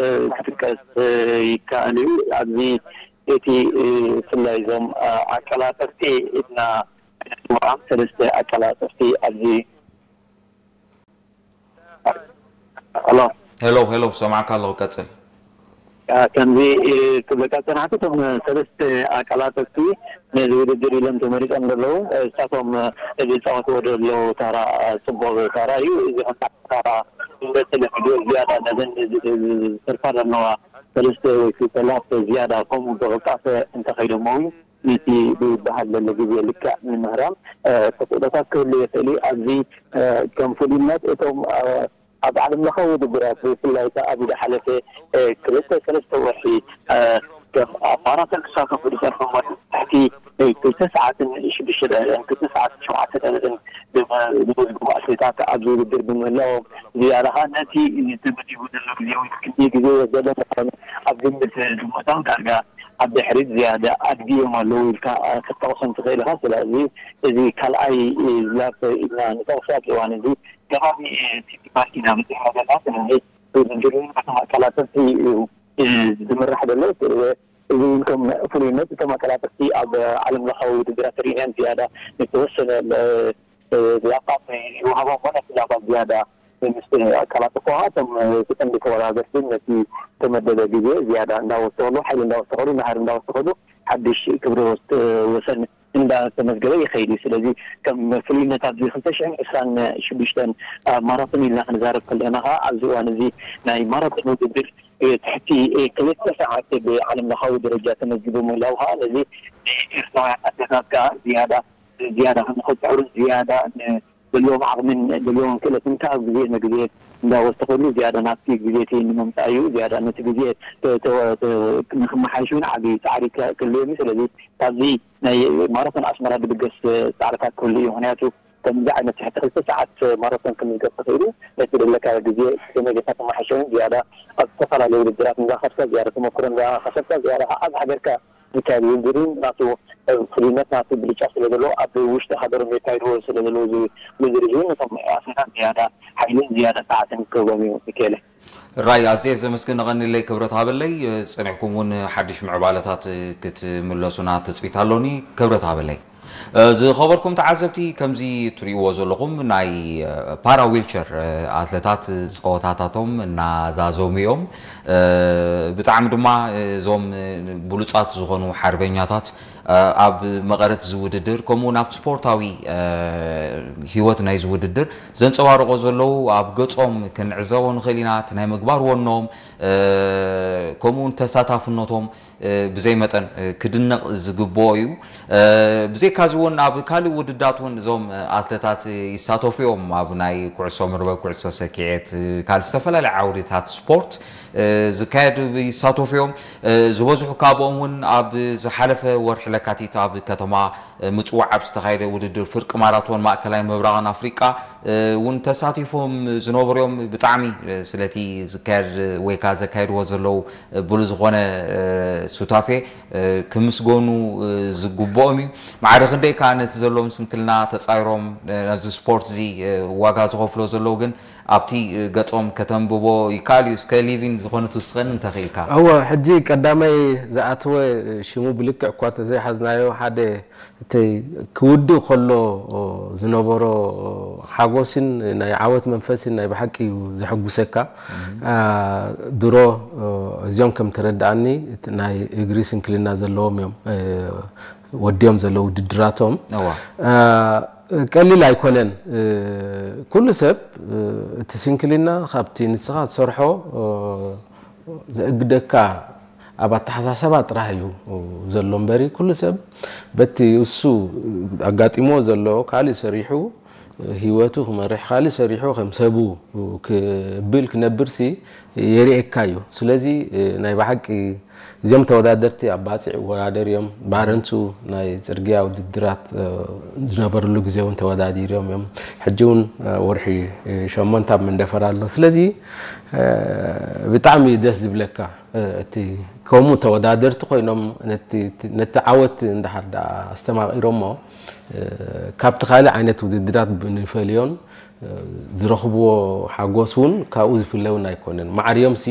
እ፣ ክጥቀስ፣ እ፣ ይከኣል እዩ። ኣብዚ እቲ፣ እ፣ ብፍላይ እዞም፣ እ፣ ኣቀላጠፍቲ ኢልና ንፅውዖም ሰለስተ ኣቀላጠፍቲ ኣብዚ ኣሎ። ሄሎ ሄሎ፣ ሰማዕካ ኣለኹ፣ ቀጽል። እ፣ ከምዚ፣ እ፣ ክብለካ ዝጸናሕኩ፣ እቶም ሰለስተ ኣቀላጠፍቲ ነዚ ውድድር ኢሎም ተመሪጾም ዘለዉ፣ እ፣ እሳቶም፣ እ፣ ዝጻወትዎ ዘለዉ ታራ፣ እ፣ ጽቡቕ ታራ እዩ። እዚ ከም ታራ እንደ ተለምዶ ዝያዳ ነዘን ዝ-፣ ዝ-፣ ዝተርፋ ዘለዋ ሰለስተ ወይ ክልተ ላፕ ዝያዳ ከምኡ ብቕልጣፈ እንተኸይዶሞ እውን ነቲ ዝበሃል ዘሎ ግዜ ልክዕ ንምህራም፣ እ፣ ተኽእሎታት ክህሉ ይኽእል እዩ። ኣብዚ፣ እ፣ ከም ፍሉይነት እቶም፣ እ፣ ኣብ ዓለም ለኻዊ ውድድራት ብፍላይ ከኣ ኣብ ዝሓለፈ፣ እ፣ ክልተ ሰለስተ ወርሒ፣ እ፣ ከም ኣብ ማራቶን ክሳተፉ ዝጸንሑ እሞ ትሕቲ፣ እ፣ ክልተ ሰዓትን ሽዱሽተ ደቂቕን ክልተ ሰዓትን ሸውዓተ ደቂቕን ዝመ-፣ ዝመዝግቡ ኣትሌታት ኣብዚ ውድድር ብምህላዎም ዝያዳ ኸኣ ነቲ ተመዲቡ ዘሎ ግዜ ወይ ክንደይ ግዜ ይወስደሎም ምዃኑ ኣብ ግምት ብምእታው ዳርጋ ኣብ ድሕሪት ዝያዳ ኣድጊ እዮም ኣለዉ ኢልካ፣ እ፣ ክትጠቕሶም ትኽእል ኢኻ። ስለዚ እዚ ካልኣይ፣ እ፣ ላፕ ኢልና ንጠቕሶ ኣብዚ እዋን እዚ ከባቢ፣ እ፣ ሲቲ ፓርክ ኢና በጺሕና ዘለና። ስለዚ ውድድር እውን በቶም ኣቀላጠፍቲ እዩ፣ እ፣ ዝምራሕ ዘሎ። እዚ እውን ከም ፍሉይነት እቶም ኣቀላጠፍቲ ኣብ ዓለም ለኻዊ ውድድራት ርኢናዮም ዝያዳ ንዝተወሰነ፣ እ፣ እ፣ ላፓት ይወሃቦም እሞ ነቲ ላፓት ዝያዳ ምስ ኣቀላጠፍዎ እቶም፣ እ፣ እቲ ቀንዲ ተወዳደርቲ ነቲ ዝተመደበ ግዜ ዝያዳ እንዳወሰኸሉ፣ ሓይሊ እንዳወሰኸሉ፣ ናህሪ እንዳወሰኸሉ ሓድሽ ክብረ ወስ-፣ ወሰን እንዳተመዝገበ ይኸይድ እዩ። ስለዚ ከም ፍሉይነት ኣብዚ ክልተ ሽሕን ዕስራን ሽዱሽተን ኣብ ማራቶን ኢልና ክንዛረብ ከለና ኸዓ ኣብዚ እዋን እዚ ናይ ማራቶን ውድድር፣ እ፣ ትሕቲ፣ እ፣ ክልተ ሰዓት ብዓለም ለኻዊ ደረጃ ተመዝጊቡ ምህላው ኸዓ ነዚ ንኤርትራውያን ኣትሌታት ከኣ ዝያዳ ዝያዳ ንኽጽዕሩን ዝያዳ ዘለዎም ዓቕምን ዘለዎም ክእለትን ካብ ግዜ ንግዜ እንዳወሰኸሉ ዝያዳ ናብቲ ግዜ እቲ ንምምጻእ እዩ። ዝያዳ ነቲ ግዜ ተ-፣ ተ-፣ ተ-፣ ንክመሓየሽ እውን ዓቢ ጻዕሪ ከ-፣ ክህልዎም እዩ። ስለዚ ካብዚ ናይ ማራቶን ኣስመራ ዝብገስ ጻዕርታት ክህሉ እዩ። ምኽንያቱ ከምዚ ዓይነት ትሕቲ ክልተ ሰዓት ማራቶን ክምዝገብ ተኽኢሉ ነቲ ዘለካዮ ግዜ ከመይ ጌርካ ተመሓይሾ እውን ዝያዳ ኣብ ዝተፈላለዩ ውድድራት እንዳኸድካ ዝያዳ ተመክሮ እንዳኸሰብካ ዝያዳ ኣብ ሃገርካ ዝካየድ ውድድር እውን ናቱ ፍሉይነት ናቱ ብልጫ ስለ ዘለዎ ኣብ ውሽጢ ሃገሮም የካይድዎ ስለ ዘለዉ እዚ ውድድር እዚ እውን ነቶም ኣትሌታት ዝያዳ ሓይልን ዝያዳ ፃዕትን ክህቦም እዩ። ሚካኤለ። ራይ ኣዝየ ዘመስግን። ንቐንለይ ክብረት ሃበለይ። ጽኒሕኩም እውን ሓድሽ ምዕባለታት ክትምለሱና ትጽቢት ኣሎኒ። ክብረት ሃበለይ። ዝኸበርኩም ተዓዘብቲ፣ ከምዚ ትርእይዎ ዘለኹም ናይ ፓራ ዊልቸር ኣትለታት ጸወታታቶም እናዛዘሙ እዮም። ብጣዕሚ ድማ እዞም ብሉጻት ዝኾኑ ሓርበኛታት ኣብ መቐረት እዚ ውድድር ከምኡ እውን ኣብ ስፖርታዊ ህይወት ናይዚ ውድድር ዘንጸባርቖ ዘለዉ ኣብ ገጾም ክንዕዘቦ ንኽእል ኢና። እቲ ናይ ምግባር ወኖም ከምኡ እውን ተሳታፍነቶም ብዘይ መጠን ክድነቕ ዝግብኦ እዩ። ብዘይካዚ እውን ኣብ ካልእ ውድዳት እውን እዞም ኣትለታት ይሳተፉ እዮም። ኣብ ናይ ኩዕሶ መርበብ፣ ኩዕሶ ሰኪዔት፣ ካልእ ዝተፈላለዩ ዓውድታት ስፖርት ዝካየድ ይሳተፉ እዮም። ዝበዝሑ ካብኦም እውን ኣብ ዝሓለፈ ወርሒ ለካቲት ኣብ ከተማ ምጽዋዕ ኣብ ዝተኻየደ ውድድር ፍርቂ ማራቶን ማእከላይን ምብራቕን ኣፍሪቃ እውን ተሳቲፎም ዝነበሩ እዮም። ብጣዕሚ ስለቲ ዝካየድ ወይ ከዓ ዘካየድዎ ዘለዉ ብሉጽ ዝኾነ ሱታፌ ክምስገኑ ዝግብኦም እዩ። ማዕረ ክንደይ ከዓ ነቲ ዘለዎም ስንክልና ተጻይሮም ነዚ ስፖርት እዚ ዋጋ ዝኸፍሎ ዘለዉ ግን ኣብቲ ገጾም ከተንብቦ ይከኣል እዩ። እስከ ሊቪን ዝኾነ ትውስኸኒ እንተኽኢልካ። እወ፣ ሕጂ ቀዳማይ ዝኣተወ ሽሙ ብልክዕ እኳ ተዘይሓዝናዮ ሓደ እቲ ክውድእ ከሎ ዝነበሮ ሓጎስን ናይ ዓወት መንፈስን ናይ ብሓቂ እዩ ዘሐጉሰካ። አ፣ ድሮ እዚኦም ከም ተረድኣኒ እቲ ናይ እግሪ ስንክልና ዘለዎም እዮም ወዲኦም ዘለዉ ውድድራቶም። እዋ። አ፣ ቀሊል ኣይኮነን። ኩሉ ሰብ እቲ ስንክልና ካብቲ ንስኻ ትሰርሖ ዘእግደካ ኣብ ኣተሓሳሰባ ጥራሕ እዩ ዘሎ እምበሪ ኩሉ ሰብ በቲ እሱ ኣጋጢሞ ዘሎ ካልእ ሰሪሑ ህይወቱ ክመርሕ ካልእ ሰሪሑ ከም ሰቡ ክብል ክነብርሲ የርእየካ እዩ። ስለዚ ናይ ብሓቂ እዚኦም ተወዳደርቲ ኣብ ባፅዕ ይወዳደሩ እዮም። ባረንቱ ናይ ፅርግያ ውድድራት ዝነበርሉ ግዜ እውን ተወዳዲሮም እዮም። ሕጂ እውን ወርሒ ሸሞንተ ኣብ መንደፈራ ኣሎ። ስለዚ ብጣዕሚ እዩ ደስ ዝብለካ። እቲ ከምኡ ተወዳደርቲ ኮይኖም ነቲ ዓወት እንድሓር ደኣ ኣስተማቒሮሞ ካብቲ ካልእ ዓይነት ውድድራት ንፈልዮን ዝረኽብዎ ሓጎስ እውን ካብኡ ዝፍለ እውን ኣይኮነን። ማዕርዮምሲ